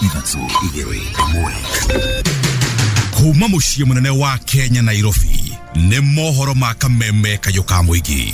Ithatũ, igĩrĩ, ĩmwe. Kuma mũciĩ mũnene wa Kenya, Nairobi, nĩ mohoro ma kameme kayũ ka mũingĩ.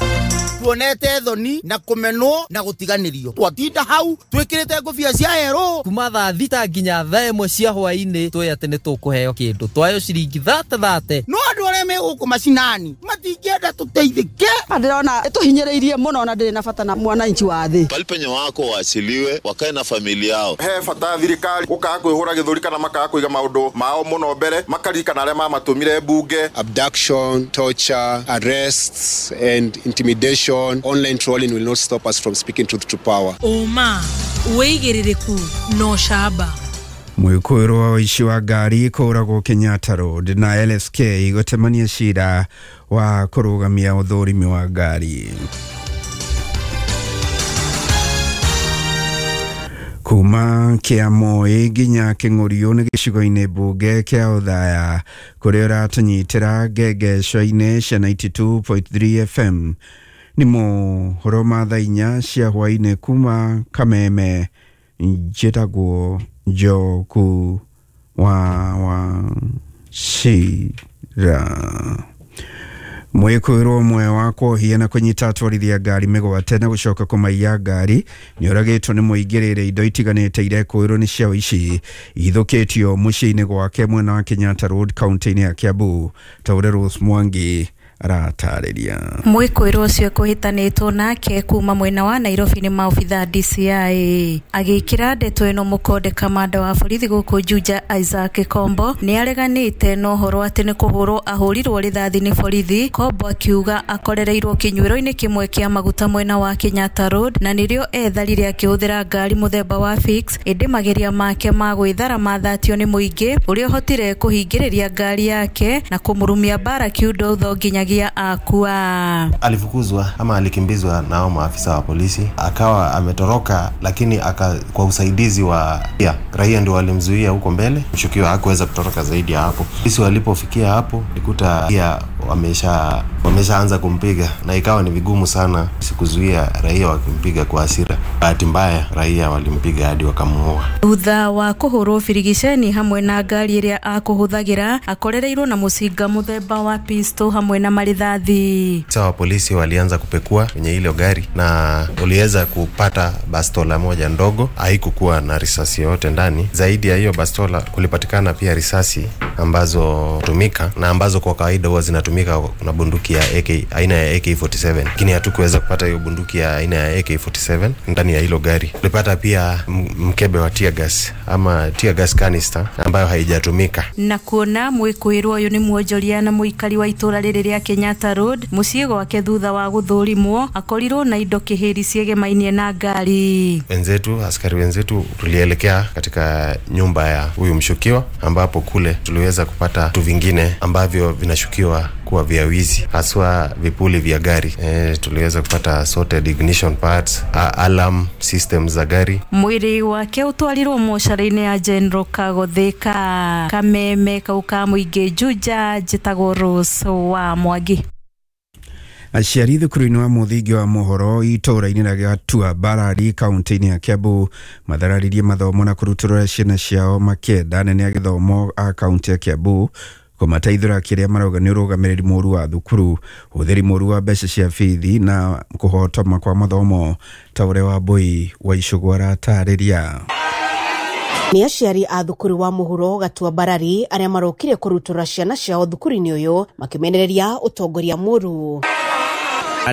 Tuonete thoni na kũmenwo na gũtiganĩrio, twatinda hau twĩkĩrĩte ngũbia cia erũ. Kuma thaa 6 nginya thaa 1 cia hwaĩ-inĩ twĩ atĩ nĩ tũkũheo kĩndũ twayo ciringi thate thate. No andũ arĩa me gũkũ macinani matingĩenda tũteithĩke. Ndĩrona ĩtũhinyĩrĩirie mũno na ndĩrĩ na bata na mwananchi wa thĩ. Pali penye wako waachiliwe, wakae na familia yao. He bata thirikari gũkaga kwĩhũra gĩthũri kana makaga kũiga maũndũ mao mũno mbere, makaririkana arĩa mamatũmire mbunge. Abduction, torture, arrests and intimidation, online trolling will not stop us from speaking truth to power. Ũma, wĩigĩrĩrĩku na ũcamba. Mwĩkũĩrwo wa ũici wa ngari kũragwo Kenyatta Road, na LSK gũtemania cira wa kũrũgamia ũthũrimi wa ngari. Kuma Kĩamoi nginya Kĩng'ũriũ nĩ gĩcigo-inĩ mbunge kĩa Othaya, kũrĩa ũratũnyitĩra ngengeco-inĩ cia 92.3 FM. Nĩ mohoro ma thaa 4 cia hwaĩ-inĩ kuma Kameme. Njĩtagwo Njoku wa Wachira. Mwĩkũĩrwo ũmwe wa kuohia na kũnyita atwarithia ngari mĩgwate na gũcoka kũmaiya ngari nĩ oragĩtwo nĩ mũingĩrĩre indo itiganĩte irekũĩrwo nĩ cia ũici ithũkĩtio mũciĩ-inĩ gwake mwena wa Kenyatta Road, kaunti-inĩ ya Kiambu, ta ũrĩa Rose Mwangi aratarĩria. Mwĩkũĩrwo ũcio kũhĩtanĩtwo nake kuma mwena wa Nairobi nĩ maobitha DCI. Agĩkĩra ndeto ĩno mũkonde, kamanda wa borithi gũkũ Juja Isaac Kombo nĩ areganĩte na ũhoro atĩ nĩ kũhũrwo ahũrirwo rithathi nĩ borithi. Kombo akiuga akorereirwo kĩnyuĩro-inĩ kĩmwe kĩa maguta mwena wa Kenyatta Road na nĩrĩo etharire akĩhũthĩra ngari mũthemba wa Fix, ĩndĩ mageria make ma gwĩthara mathatio nĩ mũingĩ ũrĩa ũhotire kũhingĩrĩria ngari yake na kũmũrumia mbara kiundo utho nginyagia akua. Alifukuzwa ama alikimbizwa nao maafisa wa polisi, akawa ametoroka, lakini kwa usaidizi wa raia ndio walimzuia huko mbele. Mshukiwa hakuweza kutoroka zaidi ya hapo. Polisi walipofikia hapo walikuta pia wameshaanza kumpiga, na ikawa ni vigumu sana kuzuia raia wakimpiga kwa hasira. Bahati mbaya raia walimpiga hadi wakamuua. Thutha wa kũhũrwo birigiceni hamwe na ngari ĩrĩa akũhũthagĩra, akorereirwo na mũcinga mũthemba wa pistol hamwe na marithathi. Sawa, polisi walianza kupekua kwenye ile gari na uliweza kupata bastola moja ndogo, haikukuwa na risasi yoyote ndani. Zaidi ya hiyo bastola kulipatikana pia risasi ambazo tumika na ambazo kwa kawaida huwa zinatumika na bunduki ya AK aina ya AK47, lakini hatukuweza kupata hiyo bunduki ya aina ya AK47 ndani ya hilo gari. Tulipata pia mkebe wa tear gas ama tear gas canister ambayo haijatumika. Na kuona mwĩkũĩrwo ũyũ nĩ mwonjoria na mũikari wa itũra rĩrĩ rĩa Kenyatta Road, mũciĩ gwake thutha wa gũthũrimwo akorirwo na indo kĩhĩri ciegemainie na ngari. Wenzetu, askari wenzetu, tulielekea katika nyumba ya huyu mshukiwa, ambapo kule tuliweza kupata vitu vingine ambavyo vinashukiwa kuwa vya wizi, haswa vipuli vya gari. Tuliweza kupata assorted ignition parts, alarm systems za gari. Mwĩrĩ wake ũtwarirwo mocarĩ-inĩ ya General Kagotheka. Kameme kau ka mũingĩ Juja, njĩtagwo Rose wa Mwangi. Aciari thukuru-inĩ wa mũthingi wa Mũhoro itũũra-inĩ rĩa Gatua Mbarari, kaunti-inĩ ya Kiambu, mathararirie mathomo na kũrutũrũra ciana ciao makĩenda anene a gĩthomo a kaunti ya Kiambu kũmateithũra kĩrĩa marauga nĩ ũrũgamĩrĩri mũru wa thukuru, ũhũthĩri mũru wa mbeca cia bithi na kũhotoma kwa mathomo, ta ũrĩa Wambui wa Icũgũ aratarĩria. Nĩ aciari a thukuru wa Mũhuro Gatua Mbarari arĩa marokire kũrutũra ciana ciao thukuru-inĩ ũyũ makĩmenereria ũtongoria mũru.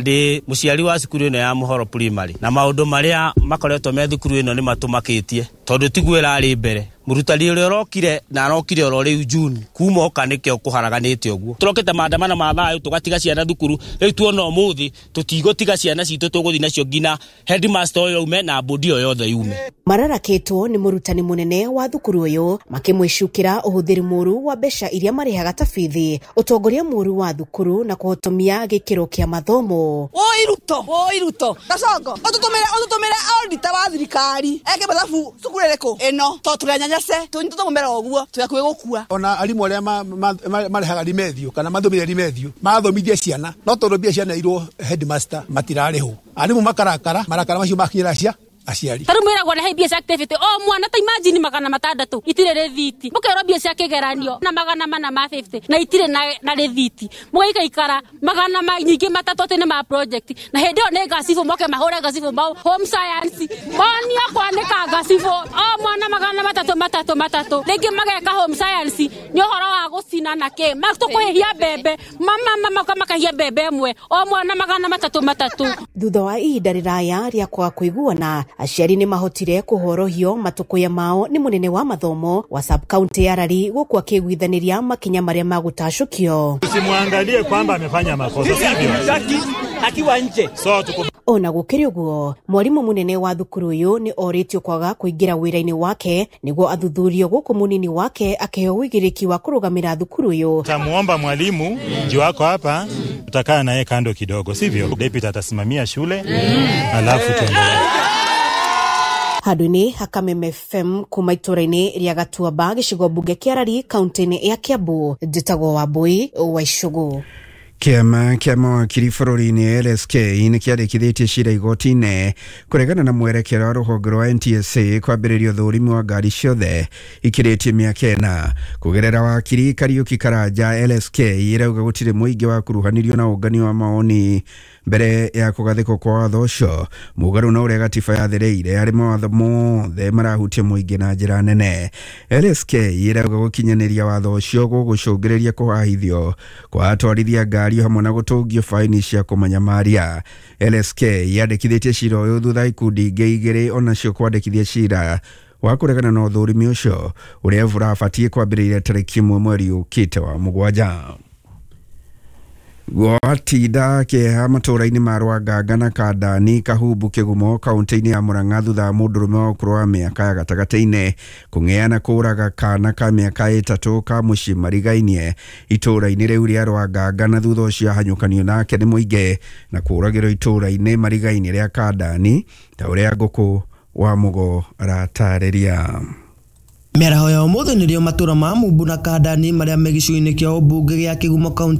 Ndĩ mũciari wa cukuru ĩno ya Mũhoro Primary, na maũndũ marĩa makoretwo me thukuru ĩno nĩ matũmakĩtie, tondũ tiguo ĩrarĩ mbere. Mũrutani ũrĩa ũrokire na arokire oro rĩu June, kuma oka nĩkĩo kũharaganĩte ũguo. Tũrokĩte maandamano ma thayũ tũgatiga ciana thukuru, rĩu tuona ũmũthĩ tũtigũtiga ciana citũ, tũgũthiĩ nacio nginya headmaster ũyũ aume na bodi ĩyo yothe yume. Mararakĩtwo nĩ mũrutani mũnene wa thukuru ũyũ makĩmwĩcukĩra ũhũthĩri mũru wa mbeca iria marĩhaga ta bithi, ũtongoria mũru wa thukuru na kũhotomia gĩkĩro kĩa mathomo. Oi Ruto, oi Ruto, Gacongo, ũtũtũmĩre auditor wa thirikari eke mathabu cukuru ĩrĩkũ ĩno, tondũ tũrĩ anyanyase, tũnyitĩtwo mũmera ũguo twĩ hakuhĩ gũkua. Ona arimũ arĩa marĩhaga rimethio kana mathomithia rimethio mathomithia ciana, no tondũ mbia cianeirwo headmaster matirarĩhwo, arimũ makarakara, marakara macio makinyĩra cia Aciari Tarĩu mwĩragwo rehe mbia cia activity o mwana, ta imagine 600 itirĩ rĩthiti, mũkerwo mbia cia kĩgeranio na 450 na itirĩ na rĩthiti, mũgaikaikara magana nyingĩ matatũ atĩ nĩ ma project, na hĩndĩ ĩyo nĩ ngacibũ moke mahũre ngacibũ mau home science, monio kwanĩka ngacibũ o mwana 300 3 3, rĩngĩ mageka home science nĩ ũhoro wa gũcina na kĩ tũkũhĩhia mbembe mama makahia mbembe ĩmwe o mwana 300 3. Thutha wa ihinda rĩraya rĩa kwaga kũiguana, aciari nĩ mahotire kũhorohio matũkũya mao nĩ mũnene wa mathomo wa sub county ya Rari gũkũ akĩiguithanĩria makinya marĩa magũtacũkio. Tusimwangalie kwamba amefanya makosa, sivyo? Akiwa nje. So tuko Ona gũkĩrĩ ũguo, mwarimũ mũnene wa thukuru ũyũ nĩ orĩtio kwaga kũingĩra wĩra-inĩ wake nĩguo athuthurio, gũkũ mũnini wake akĩheo ũigĩrĩki wa kũrũgamĩra thukuru ũyũ. Tamuomba mwalimu juu wako hapa, tutakaa naye kando kidogo, sivyo? Deputy atasimamia shule, alafu tuendelee. Handũ-inĩ ha Kameme FM kuma itũra-inĩ rĩa Gatuamba gĩcigo mbunge kĩa Rari kaunti-inĩ ya Kiambu, njĩtagwo Wambui wa Icũgũ. Kĩama kĩa mawakiri bũrũri-inĩ LSK nĩ kĩandĩkithĩtie cira igoti-inĩ kũregana na mwerekera wa rũhonge rwa NTSA kwambĩrĩria ũthũrimi wa ngari ciothe ikĩrĩtie mĩaka 4. Kũgerera wakiri Kariuki Karanja, LSK ĩrauga gũtirĩ mũingĩ wakuruhanirio na ũngania wa mawoni mbere ya kũgathĩkwo kwa watho ũcio, mũgarũ na ũrĩa gatiba yathereire harĩ mawatho mothe marahutia mũingĩ na njĩra nene. LSK ĩrauga gũkinyanĩria watho ũcio gũgũcũngĩrĩria kũhahithio kwa atwarithia ngari hamwe na gũtũngio faini cia kũmanyamaria. LSK yandĩkithĩtie cira ũyũ thutha ikundi ingĩ igĩrĩ onacio kwandĩkithia cira wa kũregana na ũthũrimi ũcio ũrĩa ũrabatiĩ kwambĩrĩria tarĩki 1 mweri ũkĩte wa 7. Gwatinda kĩeha matũũra-inĩ ma Rwanganga na Kandani Kahumbu Kĩgumo kaunti-inĩ ya Murang'a thutha wa mũndũrũme wa ũkũrũ wa mĩaka ya gatagatĩ-inĩ kũng'ea na kũũraga kana ka mĩaka 3 ka mũciĩ marigainie itũũra-inĩ rĩu rĩa Rwanganga, na thutha ũcio ahanyũkanio nake nĩ mũingĩ na kũũragĩrwo itũũra-inĩ marigainie rĩa Kandani ta ũrĩa Ngũkũ wa Mũgo aratarĩria. Mĩaraho ya ũmũthĩ nĩrĩo matũra ma Mumbu na Kandani marĩa me gĩcigo-inĩ kĩa ũmbunge gĩa Kĩgumo kaunti